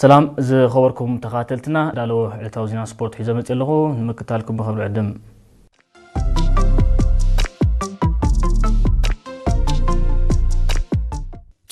ሰላም ዝኸበርኩም ተኸታተልትና፣ ዳለዎ ዕለታዊ ዜና ስፖርት ሒዘ መፅእ ኣለኹ። ንምክታልኩም ብኽብሪ ዕድም።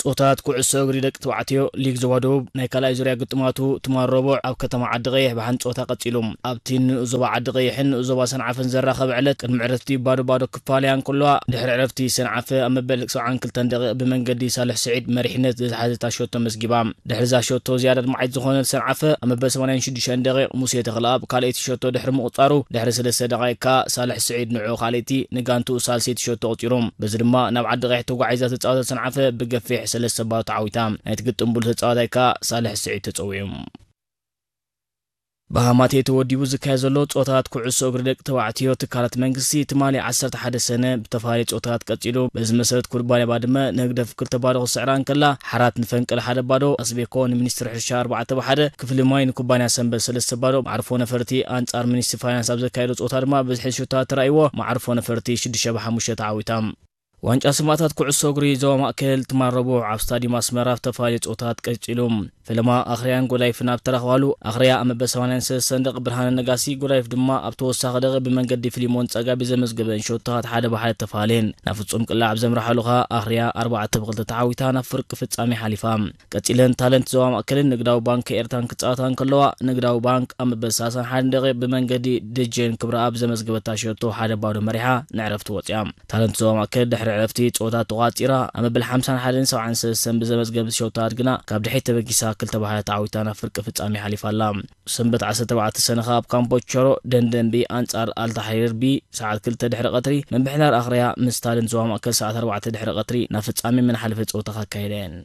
ጾታት ኩዕሶ እግሪ ደቂ ተባዕትዮ ሊግ ዞባ ደቡብ ናይ ካልኣይ ዙርያ ግጥማቱ ትማል ረቡዕ ኣብ ከተማ ዓዲ ቀይሕ ብሓንቲ ጾታ ቀጺሉ። ኣብቲ ንኡዞባ ዓዲ ቀይሕን ንኡዞባ ሰንዓፈን ዘራኸበ ዕለት ቅድሚ ዕረፍቲ ባዶ ባዶ ክፋለያ እንከለዋ፣ ድሕሪ ዕረፍቲ ሰንዓፈ ኣብ መበል ሰብዓን ክልተን ደቂቕ ብመንገዲ ሳልሕ ስዒድ መሪሕነት ዝሓዘታ ሸቶ መስጊባ። ድሕሪ እዛ ሸቶ ዝያዳ ኣድማዒት ዝኾነት ሰንዓፈ ኣብ መበል ሰማንያን ሽዱሽተን ደቂቕ ሙሴ ተኽለኣብ ካልኣይቲ ሸቶ ድሕሪ ምቑጻሩ፣ ድሕሪ ሰለስተ ደቂቕ ከኣ ሳልሕ ስዒድ ንዑ ካልኣይቲ ንጋንትኡ ሳልሰይቲ ሸቶ ኣቑጺሩ። በዚ ድማ ናብ ዓዲ ቀይሕ ተጓዒዛ ተጻወተት ሰንዓፈ ብገፊሕ ሰለስተ ባዶ ተዓዊታ። ናይቲ ግጥም ብሉጽ ተጻዋታይ ከኣ ሳልሕ ስዒድ ተጸዊዑ። ብሃማቴ ተወዲቡ ዝካየድ ዘሎ ጾታት ኩዕሶ እግሪ ደቂ ተባዕትዮ ትካላት መንግስቲ ትማሊ ዓሰርተ ሓደ ሰነ ብተፈላለየ ጾታት ቀጺሉ። በዚ መሰረት ኩባንያ ባድመ ንህግደፍ ክልተ ባዶ ክስዕራ እንከላ፣ ሓራት ንፈንቅል ሓደ ባዶ፣ ኣስቤኮ ንሚኒስትሪ ሕርሻ ኣርባዕተ ብ ሓደ፣ ክፍሊ ማይ ንኩባንያ ሰንበት ሰለስተ ባዶ፣ መዓርፎ ነፈርቲ ኣንጻር ሚኒስትሪ ፋይናንስ ኣብ ዘካየዶ ጾታ ድማ ብዝሒ ሹታት ተራእይዎ፣ መዓርፎ ነፈርቲ ሽዱሽተ ብ ሓሙሽተ ተዓዊታ። ዋንጫ ሰማእታት ኩዕሶ እግሪ ዞባ ማእከል ትማል ረቡዕ ኣብ ስታዲየም ኣስመራ ኣብ ዝተፈላለዩ ጾታት ቀጺሉ። ፈለማ ኣኽርያን ጎዳይፍን ኣብ ተራኽባሉ፣ ኣኽርያ ኣብ መበል ሰማንያን ሰለስተን ደቂ ብርሃነ ነጋሲ፣ ጎዳይፍ ድማ ኣብ ተወሳኺ ደቂ ብመንገዲ ፊሊሞን ጸጋቢ ዘመዝገበን ሸቶታት ሓደ ብ ሓደ ተፋልየን። ናብ ፍጹም ቅላዕ ኣብ ዘምርሓሉ ኸኣ ኣኽርያ ኣርባዕተ ብ ክልተ ተዓዊታ ናብ ፍርቂ ፍጻሜ ሓሊፋ። ቀጺለን ታለንት ዞባ ማእከልን ንግዳዊ ባንክ ኤርትራን ክጻወታ እንከለዋ፣ ንግዳዊ ባንክ ኣብ መበል ሰላሳን ሓደን ደቂቕ ብመንገዲ ደጀን ክብረኣብ ዘመዝገበታ ሸቶ ሓደ ባዶ መሪሓ ንዕረፍቲ ወጺኣ። ታለንት ዞባ ማእከል ድሕሪ ዕረፍቲ ጸወታ ተቋጺራ፣ ኣብ መበል ሓምሳን ሓደን ሰብዓን ሰለስተን ብዘመዝገበት ሸቶታት ግና ካብ ድሕሪት ተበጊሳ ክልተ ብ ሓደ ተዓዊታ ናብ ፍርቂ ፍጻሜ ሓሊፋ ኣላ። ሰንበት ዓሰርተ ኣርባዕተ ሰነ ከኣ ኣብ ካምፖ ቸሮ ደንደንቢ ኣንጻር ኣልታሕሪር ቢ ሰዓት ክልተ ድሕሪ ቀትሪ፣ ምምሕዳር ኣኽርያ ምስ ታለንት ዞባ ማእከል ሰዓት ኣርባዕተ ድሕሪ ቀትሪ ናብ ፍጻሜ መናሓለፈ ጸወታ ከካየዳ እየን።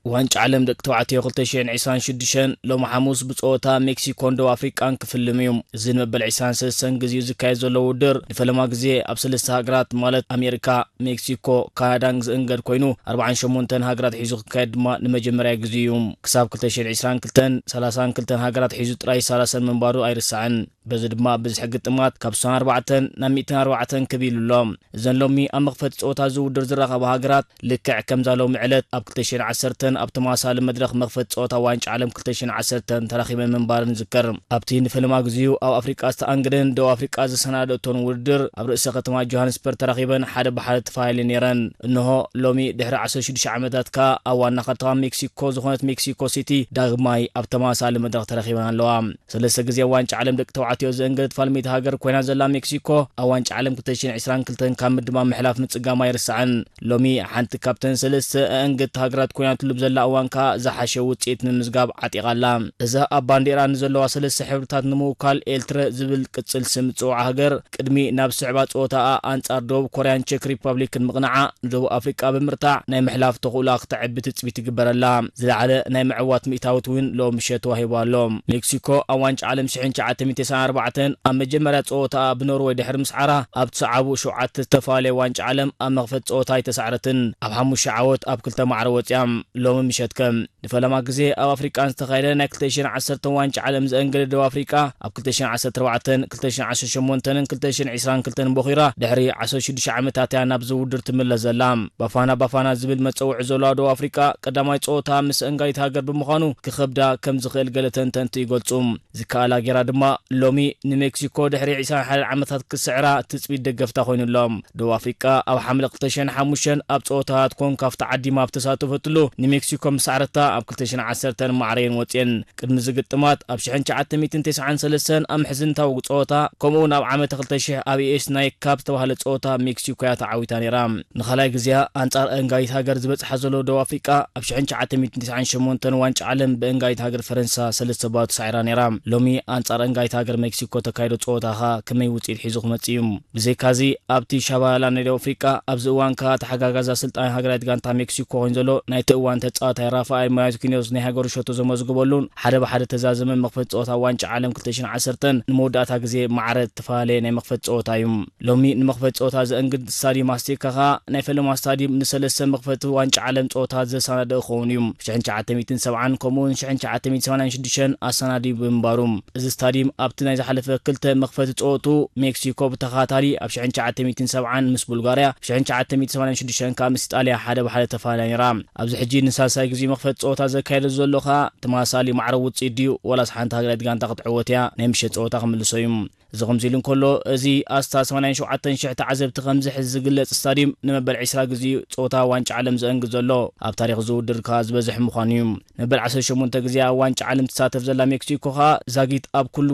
ዋንጫ ዓለም ደቂ ተባዕትዮ ክልተ ሽሕን ዕስራን ሽዱሽተን ሎሚ ሓሙስ ብጸወታ ሜክሲኮን ደቡብ ኣፍሪቃን ክፍልም እዩ። እዚ ንመበል ዕስራን ሰለስተን ግዜኡ ዝካየድ ዘሎ ውድድር ንፈለማ ግዜ ኣብ ሰለስተ ሃገራት ማለት ኣሜሪካ፣ ሜክሲኮ፣ ካናዳን ዝእንገድ ኮይኑ ኣርባዓን ሸሞንተን ሃገራት ሒዙ ክካየድ ድማ ንመጀመርያ ግዜ እዩ። ክሳብ ክልተ ሽሕን ዕስራን ክልተን ሰላሳን ክልተን ሃገራት ሒዙ ጥራይ ይሳላሰል ምንባሩ ኣይርሳዕን። በዚ ድማ ብዝሒ ግጥማት ካብ ስሳን ኣርባዕተን ናብ ሚእትን ኣርባዕተን ክብ ኢሉ ኣሎ። እዘን ሎሚ ኣብ መኽፈቲ ጸወታ እዚ ውድድር ዝራኸባ ሃገራት ልክዕ ከምዛ ሎሚ ዕለት ኣብ ክልተ ሽሕን ዓሰርተን ኣብ ተመሳሳሊ መድረኽ መኽፈቲ ጸወታ ዋንጫ ዓለም ክልተ ሽሕን ዓሰርተን ተራኺበን ምንባረን ይዝከር። ኣብቲ ንፈለማ ግዜኡ ኣብ ኣፍሪቃ ዝተኣንገደን ደቡብ ኣፍሪቃ ዘሰናደእቶን ውድድር ኣብ ርእሰ ከተማ ጆሃንስበርግ ተራኺበን ሓደ ብሓደ ተፈላለየን ነይረን። እንሆ ሎሚ ድሕሪ ዓሰርተ ሽዱሽተ ዓመታት ከኣ ኣብ ዋና ከተማ ሜክሲኮ ዝኾነት ሜክሲኮ ሲቲ ዳግማይ ኣብ ተመሳሳሊ መድረኽ ተራኺበን ኣለዋ። ሰለስተ ግዜ ዋንጫ ዓለም ደቂ ተባዕትዮ ዘእንገደት ፋልመይቲ ሃገር ኮይና ዘላ ሜክሲኮ፣ ኣብ ዋንጫ ዓለም ክልተ ሽሕን ዕስራን ክልተን ካብ ምድማም ምሕላፍ ምጽጋማ ኣይርሳዕን። ሎሚ ሓንቲ ካብተን ሰለስተ ኣእንገድቲ ሃገራት ኮይናትሉ ብዘላ እዋን ከኣ ዝሓሸ ውጽኢት ምምዝጋብ ዓጢቓ ኣላ። እዛ ኣብ ባንዴራ ንዘለዋ ሰለስተ ሕብርታት ንምውካል ኤልትረ ዝብል ቅጽል ስም እትጽውዓ ሃገር፣ ቅድሚ ናብ ዝስዕባ ጸወታኣ ኣንጻር ደቡብ ኮርያን ቸክ ሪፐብሊክን ምቕናዓ፣ ንደቡብ ኣፍሪቃ ብምርታዕ ናይ ምሕላፍ ተኽእሎኣ ክተዕቢ ትጽቢት ይግበረላ። ዝለዓለ ናይ ምዕዋት ሚእታዊት እውን ሎሚ ምሸት ተዋሂቡ ኣሎ። ሜክሲኮ ኣብ ዋንጫ ዓለም ሽሕን ትሽዓተ ሚእትን ተስዓን ኣርባዕተን ኣብ መጀመርያ ጸወታኣ ብኖርወይ ድሕሪ ምስዓራ፣ ኣብ ዝሰዓቡ ሸውዓተ ዝተፈላለየ ዋንጫ ዓለም ኣብ መኽፈቲ ጸወታ ኣይተሳዕረትን። ኣብ ሓሙሽተ ዓወት ኣብ ክልተ ማዕረ ወጺኣ። ሎሚ ምሸት ከ ንፈለማ ግዜ ኣብ ኣፍሪቃ ዝተኻየደ ናይ ክልተ ሽሕን ዓሰርተን ዋንጫ ዓለም ዘእንገደ ደቡብ ኣፍሪቃ፣ ኣብ ክልተ ሽሕን ዓሰርተ ኣርባዕተን፣ ክልተ ሽሕን ዓሰርተ ሸሞንተን ክልተ ሽሕን ዕስራን ክልተን ቦኺራ፣ ድሕሪ ዓሰርተ ሽዱሽተ ዓመታት እያ ናብዚ ውድድር ትምለስ ዘላ። ባፋና ባፋና ዝብል መጸውዒ ዘለዋ ደቡብ ኣፍሪቃ፣ ቀዳማይ ጸወታ ምስ ኣእንጋዲት ሃገር ብምዃኑ ክኸብዳ ከም ዝኽእል ገለ ተንተንቲ ይገልጹ። ዝከኣላ ጌራ ድማ ሎሚ ንሜክሲኮ ድሕሪ ዕስራን ሓደን ዓመታት ክስዕራ ትጽቢት ደገፍታ ኮይኑሎም። ደቡብ ኣፍሪቃ ኣብ ሓምለ ክልተ ሽሕን ሓሙሽተን ኣብ ጸወታታት ኮንካፍ ተዓዲማ ኣብ ተሳተፈትሉ ንሜክሲኮ ምሳዕረታ ኣብ ክልተ ሽሕን ዓሰርተን ማዕረየን ወጽየን። ቅድሚ ዝግጥማት ኣብ ሽሕን ትሽዓተ ሚእትን ተስዓን ሰለስተን ኣብ ምሕዝንታዊ ጸወታ ከምኡውን ኣብ ዓመተ ክልተ ሽሕ ኣብ ኤስ ናይ ካብ ዝተባህለ ጸወታ ሜክሲኮ እያ ተዓዊታ ነይራ። ንኻልኣይ ግዜኣ ኣንጻር ኣእንጋዲት ሃገር ዝበጽሓ ዘሎ ደቡብ ኣፍሪቃ ኣብ ሽሕን ትሽዓተ ሚእትን ተስዓን ሸሞንተን ዋንጫ ዓለም ብእንጋዲት ሃገር ፈረንሳ ሰለስተ ባዶ ተሳዒራ ነይራ። ሎሚ ኣንጻር ኣእንጋዲት ሃገር ሜክሲኮ ተካይዶ ጸወታ ኸኣ ከመይ ውጽኢት ሒዙ ክመጽእ እዩ? ብዘይካዚ ኣብቲ ሻባላ ናይ ደቡብ ኣፍሪቃ ኣብዚ እዋን ከኣ ተሓጋጋዚ ኣሰልጣኒ ሃገራዊት ጋንታ ሜክሲኮ ኮይኑ ዘሎ ናይቲ እዋን ተጻዋታይ ራፋኤል ማርኪኖስ ናይ ሃገሩ ሸቶ ዘመዝገበሉን ሓደ ብሓደ ተዛዘመ መኽፈቲ ጸወታ ዋንጫ ዓለም ክልተ ሽሕን ዓሰርተን ንመወዳእታ ግዜ ማዕረ እተፈላለየ ናይ መኽፈቲ ጸወታ እዩ። ሎሚ ንመኽፈቲ ጸወታ ዘእንግድ ስታድዩም ኣስቴካ ከኣ ናይ ፈለማ ስታድዩም ንሰለስተ መኽፈቲ ዋንጫ ዓለም ጸወታ ዘሰናደእ ክኸውን እዩ። ሽሕን ትሽዓተ ሚእትን ሰብዓን ከምኡውን ሽሕን ትሽዓተ ሚእትን ሰማንያን ሽዱሽተን ኣሰናድዩ ብምንባሩ፣ እዚ ስታድዩም ኣብቲ ናይ ዝሓለፈ ክልተ መኽፈቲ ጸወቱ ሜክሲኮ ብተኸታታሊ ኣብ ሽሕን ትሽዓተ ሚእትን ሰብዓን ምስ ቡልጋርያ፣ ኣብ ሽሕን ትሽዓተ ሚእትን ሰማንያን ሽዱሽተን ከኣ ምስ ኢጣልያ ሓደ ብሓደ ተፈላለያ ነይራ። ኣብዚ ሕጂ ንሳልሳይ ግዜ መኽፈቲ ጸወታ ዘካየደ ዘሎ ከኣ ተመሳሳሊ ማዕረ ውጽኢት ድዩ፣ ወላስ ሓንቲ ሃገራዊት ጋንታ ክትዕወት እያ፣ ናይ ምሸት ጸወታ ክምልሶ እዩ። እዚ ከምዚ ኢሉ እንከሎ፣ እዚ ኣስታት ሰማንያን ሸውዓተን ሽሕ ተዓዘብቲ ከም ዝሕዝ ዝግለጽ ስታድዩም፣ ንመበል ዕስራ ግዜ ጸወታ ዋንጫ ዓለም ዘእንግድ ዘሎ፣ ኣብ ታሪኽ እዚ ውድድር ከኣ ዝበዝሕ ምዃኑ እዩ። ንመበል ዓሰርተ ሸሞንተ ግዜ ኣብ ዋንጫ ዓለም ትሳተፍ ዘላ ሜክሲኮ ከኣ ዛጊት ኣብ ኩሉ